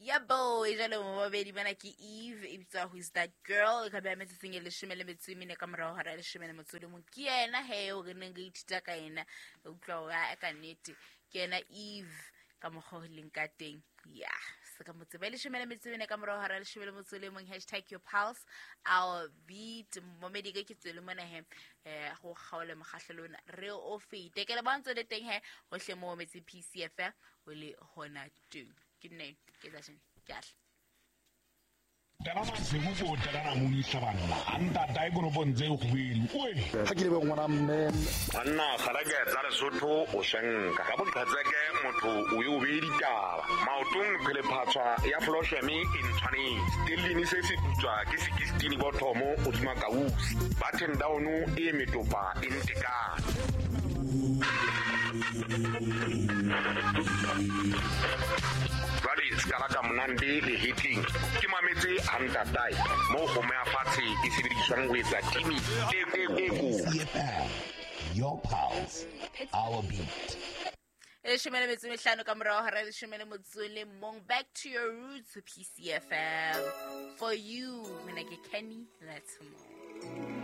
Yabo, e jalo mobabedi bana ke Eve e bitswa Who Is That Girl, e ka beha metsotsong e 14 ka morago hora ya 11. Ke yena he o re neng re ithuta ka yena, re utlwa hore a ka nnete ke yena Eve ka mokgwa o leng ka teng. Ya se ka mo tseba. E 14 ka morago hora ya 11. Hashtag your pulse our beat. Momedi ke ke tswele mona he, go kgaole mokgahlelo ona re o fete. Ke le bontse le teng he hohle mo metse PCFM o le hona teng. Ke nne ke tsa sheng ke ahle. Tela masego ko tela namoni hlabanna a ntata e konopong tse kgubedu oe. Ga ke lebe ngwana mme. Banna kgareke tsa Lesotho o senka ka boqhetseke motho o ye o beye ditaba maotong phelephatshwa ya flosheme e ntshwanetse stellini se se putswa ke sekistini bothomo godima kausi button down e metopa e ntekane. Jwale se ka la ka monande le hetleng ke mametse a ntatae moo kgomo ya fatshe e sebediswang ho etsa timi e e e. Your pulse, our beat. E 15 ka morago hora ya 11. Back to your roots, PCFM. For you, mina ke Kenny Letmo.